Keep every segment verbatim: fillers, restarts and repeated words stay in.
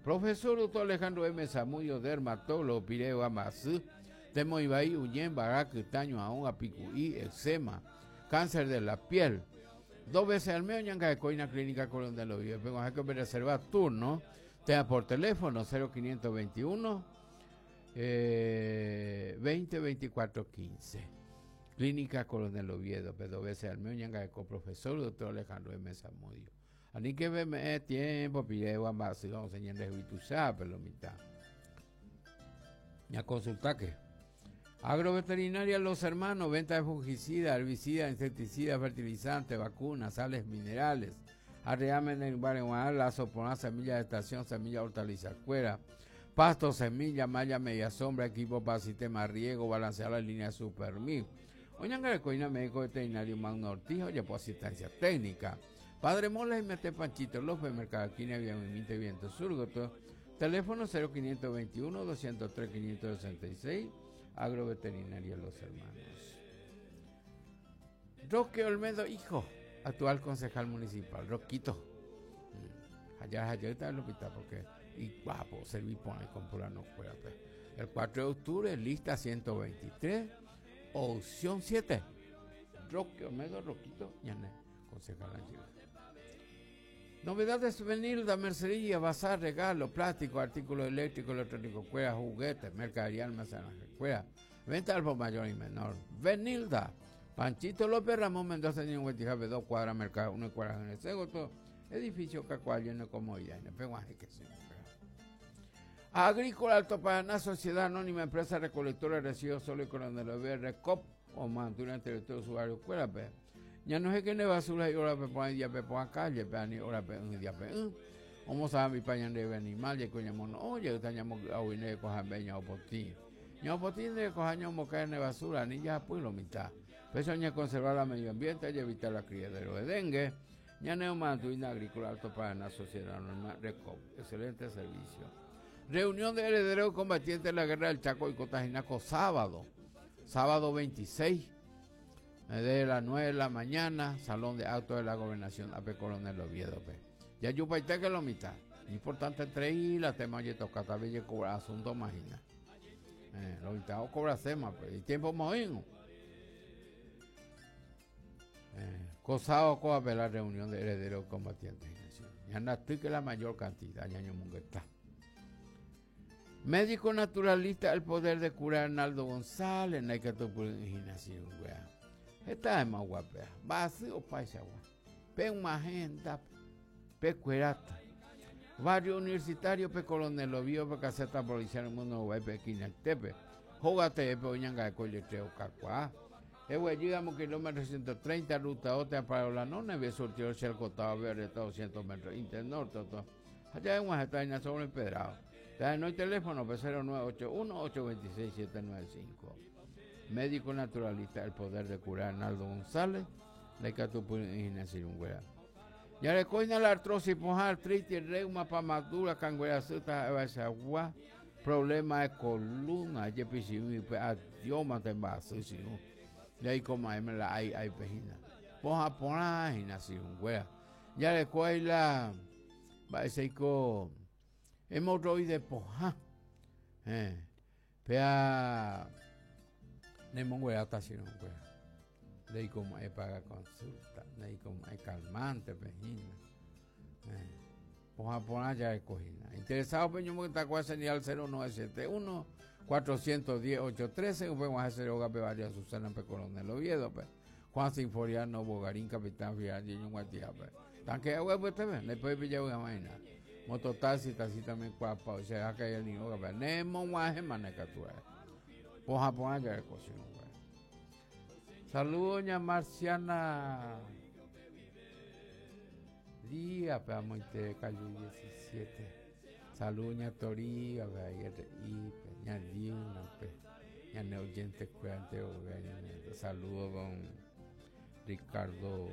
Profesor doctor Alejandro M. Zamudio, dermatólogo, pireo amasú, temoibai, uñen, kytaño, aún, apicuí, eczema, cáncer de la piel. Dos veces al mes, ñanga de Coina Clínica Coronel Oviedo. Vengo a que me reservar turno, tenga por teléfono cero quinientos veintiuno, eh, veinte veinticuatro quince. Clínica Coronel Oviedo, pero dos veces al mes, ñanga de profesor doctor Alejandro M. Zamudio. Ani que me tiempo, pide guamba, si vamos a enseñar de pero lo mitad. Ya consulta que Agroveterinaria Los Hermanos, venta de fungicida, herbicida, insecticida, fertilizante, vacunas, sales minerales. Arreamen en barrio Lazo, poná, semilla de estación, semilla hortaliza, cuera, pasto, semilla, malla, media sombra, equipo para sistema de riego, balancear la línea Supermil. Oñanga de Coina, médico veterinario Magno Ortiz, oye, por asistencia técnica. Padre Mola y Mete Panchito López, Mercado Quina, Viamimite, Viento Surgoto. Teléfono cero quinientos veintiuno, doscientos tres, quinientos sesenta y seis, Agroveterinaria Los Hermanos. Roque Olmedo, hijo, actual concejal municipal, Roquito. Mm. Allá, allá está el hospital porque, y guapo, serví por ahí con pura no fuera, pues. El cuatro de octubre, lista ciento veintitrés, opción siete. Roque Olmedo, Roquito, ñane, concejal Ángel. Novedades Benilda, mercería, bazar, regalo, plástico, artículos eléctricos, electrónicos, cuera, juguetes, mercadería, almacenaje, cuera, venta al por mayor y menor. Benilda, Panchito López, Ramón Mendoza, cincuenta y dos cuadras, mercado, una cuadra en el Segundo, edificio Cacual, lleno de comodidad, en el Peguaje, que se Agrícola Alto Paraná, Sociedad Anónima, Empresa Recolectora de Residuos Sólidos Coronel Oviedo, Recop, o Mantura, entre todos sus barrios, cuera, pe. Ya no sé qué ne basura y ahora pe pon día pe pon calle pe ni ahora pe un día pe un. Omo sabe mi pañan de animal ye coña mono oye estañamos a uine coja beña o potín. Ño potín de coja ño mo cae ne basura ni ya pues lo mitad. Pero ña conservar el medio ambiente y evitar la criadero de dengue. Ña neo mantuina agrícola Alto Paraná Sociedad Normal Recop. Excelente servicio. Reunión de herederos combatientes de la guerra del Chaco y Cotajinaco sábado. Sábado veintiséis. De las nueve de la mañana, Salón de Actos de la Gobernación, A P Coronel Oviedo. Pe. Ya yo paité que lo mitad. Importante entre y la tema de toca, tal vez cobra asunto imagina. Eh, lo mitad o cobra sema, pues. Y tiempo moíno. Eh, cosado coa pe la reunión de herederos combatientes. Ya no estoy que la mayor cantidad, ya no mungueta. Médico naturalista, el poder de curar Arnaldo González, no hay que tu por imaginación, wea. Esta es más guapa. Vacío paisa gua. Pe una agenda, pe cuerata. Barrio universitario, pe Coronel Oviedo, pe caseta policial, mundo guay, pe Quinaltepe. Jógate, pe oñanga de colle treo cacuá. Ewe, llegamos kilómetro ciento treinta, ruta otra para la nona, ve surtido el costado verde, doscientos metros, internorte, todo. Allá en Guajataina sobre empedrado. No hay teléfono, pe cero nueve ocho uno, ocho veintiséis, siete nueve cinco. Médico naturalista, el poder de curar, Arnaldo González, de Catupú, Ignacio Yunguera. Ya le coina la artrosis, poja, artritis, reuma, pamadura, canguera, suta, agua, problema de columna, yepi, pe, adiós, mate, vaso, si no. Y ahí como ahí me la hay, hay pejina. Poja, poja, Ignacio Yunguera. Ya le coina la, va, ese ico, hemorroide, poja. Eh, pea, Nemonguera está sin un güey. De ahí como hay paga consulta, de ahí como hay calmante, pejina. Eh, poja por allá de cojina. Interesado, peño, que está con señal cero nueve siete uno, cuatrocientos diez, ocho trece, un buen hacer yoga, pe María Susana, pe Coronel Oviedo, pe Juan Sinforiano, Bogarín, Capitán Fial, Niño Guatía, pe. Tanque de agua, pues te ven, le puede pillar una vaina. Mototaxi, taxi también cuapa, o sea, que hay el niño, pe. Nemo, guaje, manecatura. Poja, poja, ya de cocina, güey. Saludos, doña Marciana Díaz, pe, amoite, calle diecisiete. Saludos, doña Toría, pe, ahí, R I, pe, ña Diuna, pe, ña Neoyente, cuente, o, pe, ña Neoyente. Saludos, don Ricardo,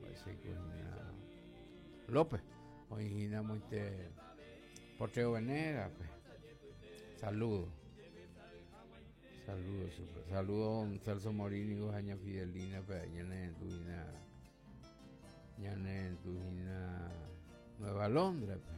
parece que doña López, oigina, moite, Porteo Venera, pe. Saludos. Saludos, super. Saludos, don Celso Morini, doña Fidelina, pe, ña Neoyente, ña Neoyente, Nueva Londres, pe.